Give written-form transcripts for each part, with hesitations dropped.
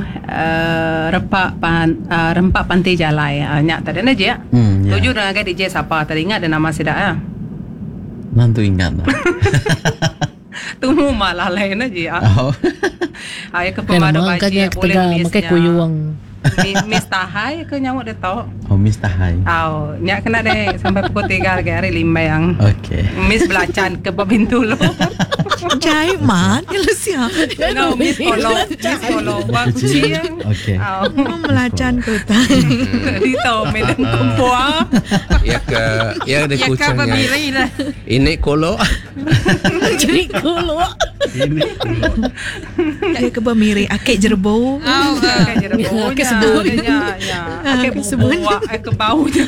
uh, repa pan, uh, rempa panti jalai. Uh, nya tadi ne je. Hmm, ya. Tuju dah ngagai DJ sapa tadi ingat dah nama sida ya. Nantu ingat lah. Tumu malah lain ne je. Oh. Ai ke Kan pemadu nama kan baji nya boleh ketegal miss makai nya. kuyung. Miss Tahai ke nyawa dia tau. Oh, Miss Tahai. Au, nya kena deh sampai pukul 3 lagi hari limbang. Okey. Miss belacan ke pintu lu. Jai mat ya Lucia. No, Miss Polo, Miss Polo. Wah, kucing. Okey. Au. Melacan ke utai. Dito medan kumpua. Ya ke ya ada Ya ke kucingnya. berdiri lah. Ini kolok. Jadi kuluk. Ini Dia ke bermiri akik jerbo. Oh, Akik jerebu. Akik sebun. Ya, ya. Akik Akik sebun. buak, akik bau je.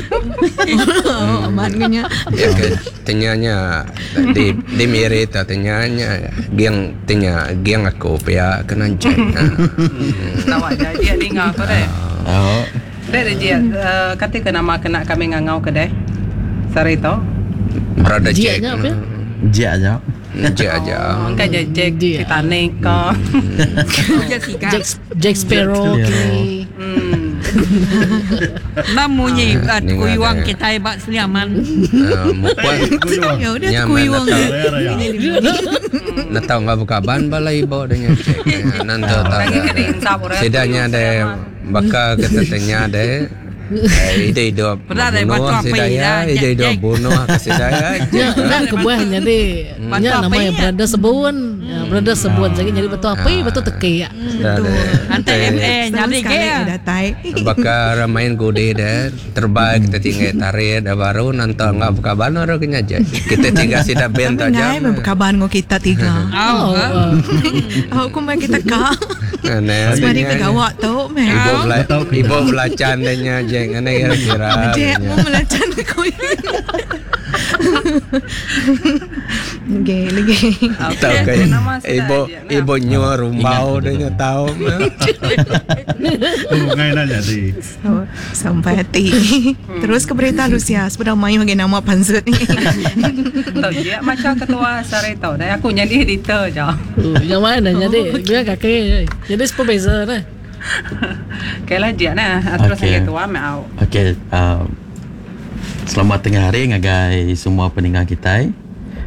Oh, amat nya. Ya ke tenyanya di di miri ta tenyanya geng tenya geng aku pia kena cek. Tahu aja dia dengar tu deh. Oh. Deh dia kata ke nama kena kami ngangau ke deh. Sari tu. Brother Jia Jack. nya apa? Jia aja. Jack aja. Oh, engkau je Jack Dia. Titanic ke. Jessica. Jack Jack Sparrow Jack ke. Hmm. Namunyi at Ni kuyuang ada. kita ibak seliaman. Mukuan Ya udah Nyaman kuyung. atau Nak tahu nggak buka ban balai ibu dengan cek. Nanti tahu. Lagi kena insap orang. Sidanya ada bakal kita tanya ada. Eh, ide hidup Pernah ada bunuh batu api sidaya, dah, ide Jack, hidup Jack. bunuh ke sidaya. Nya dah kebuah jadi Batu nya nama api yang nya. berada sebun. Ya, berada sebun jadi jadi batu api batu teki ya. Ante MA nyari ke. Sekali datai. Bakal main gudi deh terbaik kita tinggal tarik dah baru nanti nggak buka ban orang kena aja kita tinggal sida band Ngai aja berkabar dengan kita tiga. Oh, Oh, Aku main kita kak. Nah, Semari adanya- ke gawak tu meh. Ibu bela ibu belacan dehnya jeng aneh kira-kira. Jek mu melacan aku. Lagi lagi. Tahu Okey, ke nama sida ibu aja, nah. ibu nyuar rumbau dehnya tahu. Bungai nak jadi. So, sampai hati. Terus ke berita Lucia, sebenarnya mayu lagi nama pansut ni. Tahu dia macam ketua sari tau. Dah aku jadi editor je. Oh, yang mana jadi dia kaki jadi supervisor dah. Okey lah dia nah. Terus Okey. okay. ketua mau. Okey, uh, selamat tengah hari ngagai semua pendengar kita.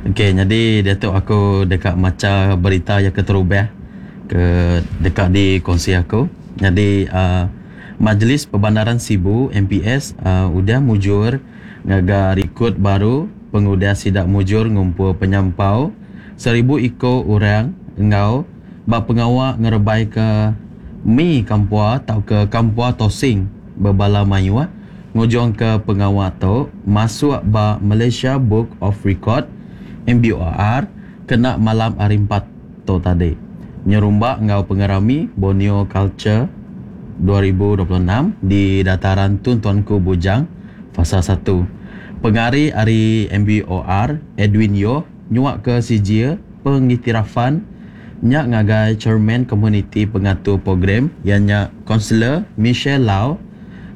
Okey, jadi datuk aku dekat maca berita yang keterubah ke dekat di kongsi aku. Jadi uh, Majlis Perbandaran Sibu MPS uh, udah mujur ngaga rekod baru pengudah sidak mujur ngumpul penyampau 1000 iko orang engau bak pengawak ngerebai ke mi kampua atau ke kampua tosing berbala mayuah ngujung ke pengawak tu masuk ba Malaysia Book of Record MBOR kena malam hari 4 tu tadi nyerumbak ngau pengerami Borneo Culture 2026 di dataran Tun Tuanku Bujang fasa 1. Pengari ari MBOR Edwin Yo nyuak ke CJ pengiktirafan nyak ngagai chairman community pengatur program ianya Kaunselor Michelle Lau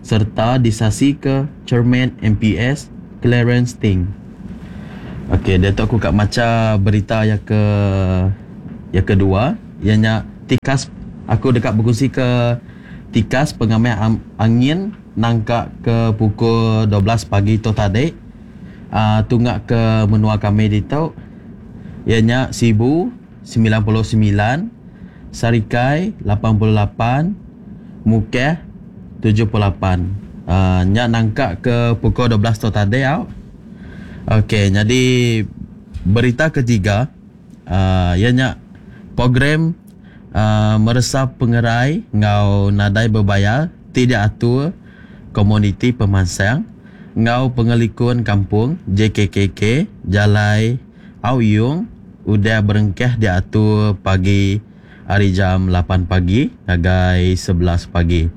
serta disasi ke chairman MPS Clarence Ting. Okey, dia tu aku kat maca berita yang ke yang kedua, ianya tikas aku dekat berkongsi ke tikas pengambil am, angin nangka ke pukul 12 pagi tu tadi. Uh, tunggak ke menua kami di tu ianya Sibu 99, Sarikai 88, Mukeh 78. Uh, nyak nangka ke pukul 12 tu tadi au. Okey, jadi berita ketiga uh, ianya program uh, meresap pengerai ngau nadai berbayar tidak atur komuniti pemansang ngau pengelikun kampung JKKK Jalai Auyung udah berengkeh diatur pagi hari jam 8 pagi ngagai 11 pagi.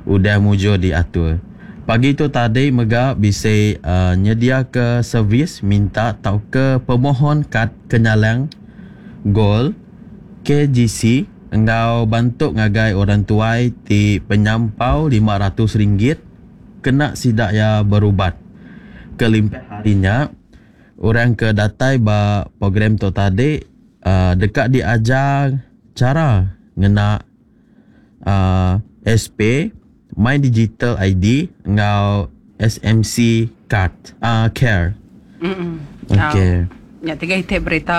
Udah mujur diatur. Pagi tu tadi mega bisa uh, nyedia ke servis minta tau ke pemohon kad kenyalang gol KGC engau bantu ngagai orang tuai ti penyampau RM500 kena sidak ya berubat. Kelimpah harinya orang ke datai ba program tu tadi uh, dekat diajar cara ngena uh, SP, My Digital ID enggau SMC Card, uh, Care. Mm. Okey. Nya tiga iti berita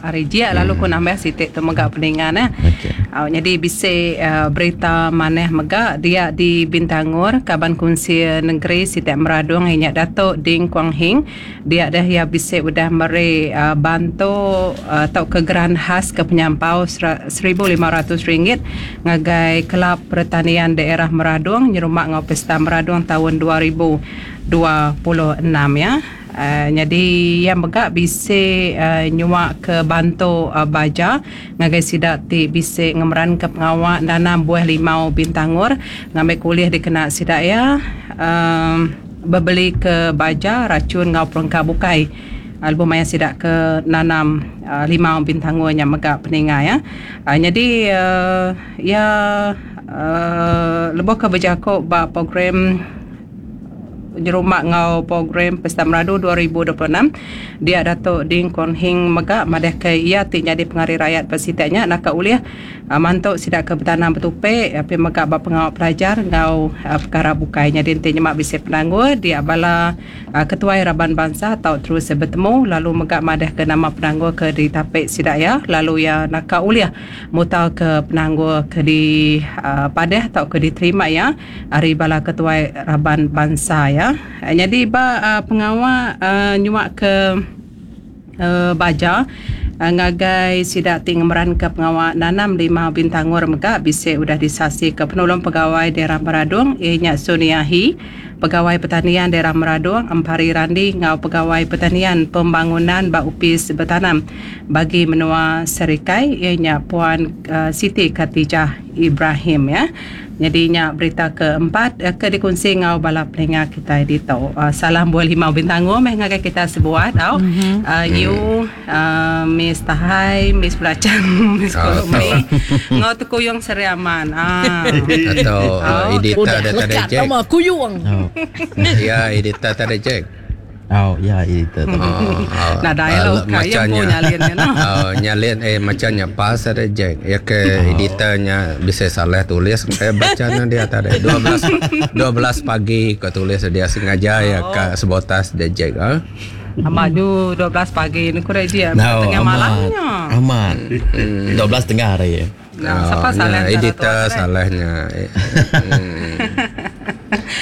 ari jia lalu ku nambah siti tu mega peningan eh. Okey. Au nyadi bisi uh, berita manah mega dia di Bintangor kaban kunsil negeri siti Meradong inya Datuk Ding Kuang Hing dia dah ia bisi udah meri uh, bantu uh, tauka geran khas ke penyampau RM1,500 ngagai Kelab Pertanian Daerah Meradong nyerumak ngau Pesta Meradong tahun 2026 ya. Uh, jadi ia mega bisi uh, nyuak ke bantu uh, baja ngagai sida ti bisi ngemeran ke pengawa nanam buah limau bintangor ngambil kuliah dikena sida ya uh, bebeli ke baja racun ngau perengka bukai lebuh maya sida ke nanam uh, limau bintangor nya mega peninga ya. Uh, jadi uh, ya uh, lebuh ke berjakuk ba program Jerumak ngau program Pesta Meradu 2026 dia Datuk Ding Kuang Hing mega madah ke ia ti jadi pengari rakyat persitanya nak ulih uh, mantu sida ke bertanam bertupe api mega ba pengawal pelajar ngau uh, perkara bukai jadi enti nyemak bisi penanggul dia bala uh, ketua raban bangsa atau terus bertemu lalu mega madah ke nama penanggul ke ditapik sida ya lalu ia nak ulih mutal ke penanggul ke di uh, padah atau ke diterima ya ari bala ketua raban bangsa ya. Jadi ba uh, pengawa uh, nyuak ke uh, baja uh, ngagai sida ti ngemeran ke pengawa nanam lima bintangor mega bisi udah disasi ke penolong pegawai daerah Meradong ianya Suniahi, pegawai pertanian daerah Meradong Empari Randi ngau pegawai pertanian pembangunan ba upis bertanam bagi menua Serikai ianya Puan uh, Siti Khatijah Ibrahim ya. Jadi nya berita keempat ke dikongsi ngau bala peninga kita di tu. Uh, salam buah limau bintango meh ngagai kita sebuat tau. Mm-hmm. Uh, you uh, Miss Tahai, Miss Belacan, Miss Kolumi. Ngau tekuyung Seriaman. Ah. Atau uh, editor Udah ada tadi lekat Jack. nama kuyung. Oh. Ya, editor tadi Jack. Oh, ya editor. Oh, oh, Nah, dialog uh, kaya pun nyalin ya, no? Oh, nyalin eh macamnya pas ada Jack. Ya ke editornya bisa salah tulis eh bacanya dia tadi 12 12 pagi kau tulis dia sengaja ya ke sebotas dia Jack. Ah. Amaju 12 pagi ni kurang dia No, tengah amat. malamnya. Amat. 12 tengah hari. Nah, siapa salah ya, antara editor tu, Ashraf? salahnya. Eh, hmm.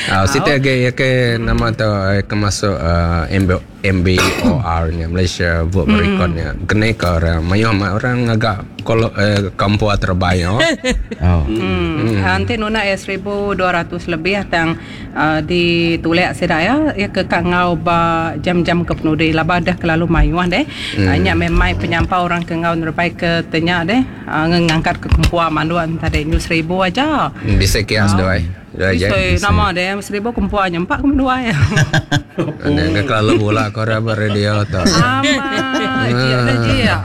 Ah, situ lagi ya ke nama tu eh, ke masuk uh, MB, MBOR nya Malaysia Book mm. Record nya. Kena ke orang mayuh mak orang agak kalau eh, kampua terbaik oh. Oh. Hmm. Nanti nuna ya 1200 lebih tang uh, ditulek seda ya ya ke kangau ba jam-jam ke penudi laba dah kelalu mayuah deh. Hmm. Uh, nya memang penyampau orang ke ngau nerbai ke tenya deh uh, ngangkat ke kempua manduan tadi nyu 1000 aja. Bisa kias doi. Doi je. Bisa nama deh 1000 kempua nya empat kem dua ya. Ane ke kelalu bola kau orang radio tu. Ama dia dah dia.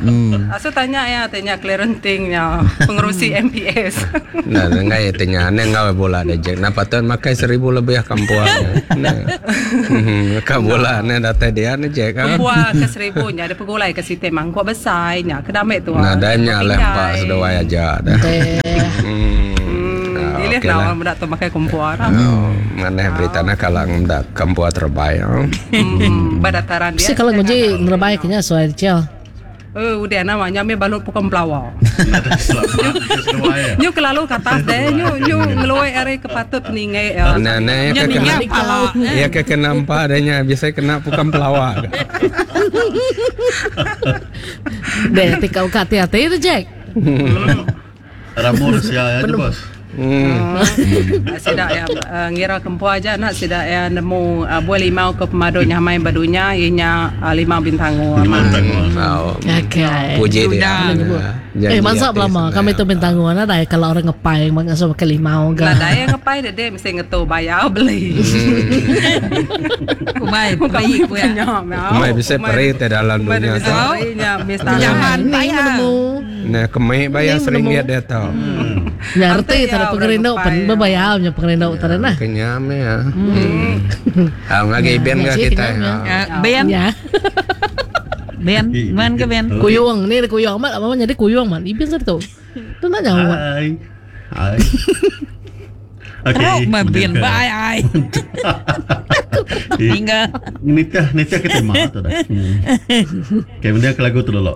Aso tanya ya tanya clearantingnya pengerusi MPS. Nah, ngai tanya ane ngau bola deh je. Napa tuan makai 1000 lebih kampua. Nah. Ka bola ane datai dia ane je kan. Kempua ke 1000 nya ada pegulai ke siti mangkuk besar nya kedamek tu. Nah, dah nya lah pak seduai aja dah. Hmm. Ah, Pilih okey lah lah. orang budak tu pakai kempua lah. Oh, mana berita nak kalau ndak kampua terbaik. Oh. Hmm, Berdataran dia. Mesti kalau nguji nerbai kenya suai cel. Eh, udah namanya mi balut pukul pelawak. Nyu kelalu ke atas deh, nyu nyu ngeluai are kepatut peningai. ya. Nah, nah, ya Nya ke kena ninga pala. ya ke kena empat adanya biasa kena pukam pelawak. Deh, tikau kat hati-hati tu Jack. Ramu Rusia aja bos. Hmm. Sidak ya uh, ngira kempua aja nak sidak ya nemu uh, buah limau ke pemadu nyamai badunya ianya uh, limau bintango. Oh, Okay. puji dia. Eh, masa lama kami tu bintango na dai kalau orang ngepai mangsa pakai limau Lah ga. daya ngepai deh deh mesti ngetu bayar beli. Kumai peri ku ya. Kumai bisa peri te dalam dunia tu. Bisa mesti Jangan Ni bayar. menemu. Nah, kemai bayar Ni seringgit dia tau. Ngerti Ante ya, tara orang pengerindu ngepai. pen berbayar punya pengerindu tara nah. Kenyam ya. Hmm. Ah, ngagi ben Ya, ke sih, kita. kenyam, ya. Ah, Ben, Ya. Ben, man ke Ben? Kuyung ni kuyung amat apa jadi kuyung man. Ibin tu. Tu nak nyawa. Hai. Hai. Teruk meh bin ba ai ai. Hingga. Nitih nitih ke tema tu dah. Hmm. Okey, mending ke lagu tu dulu.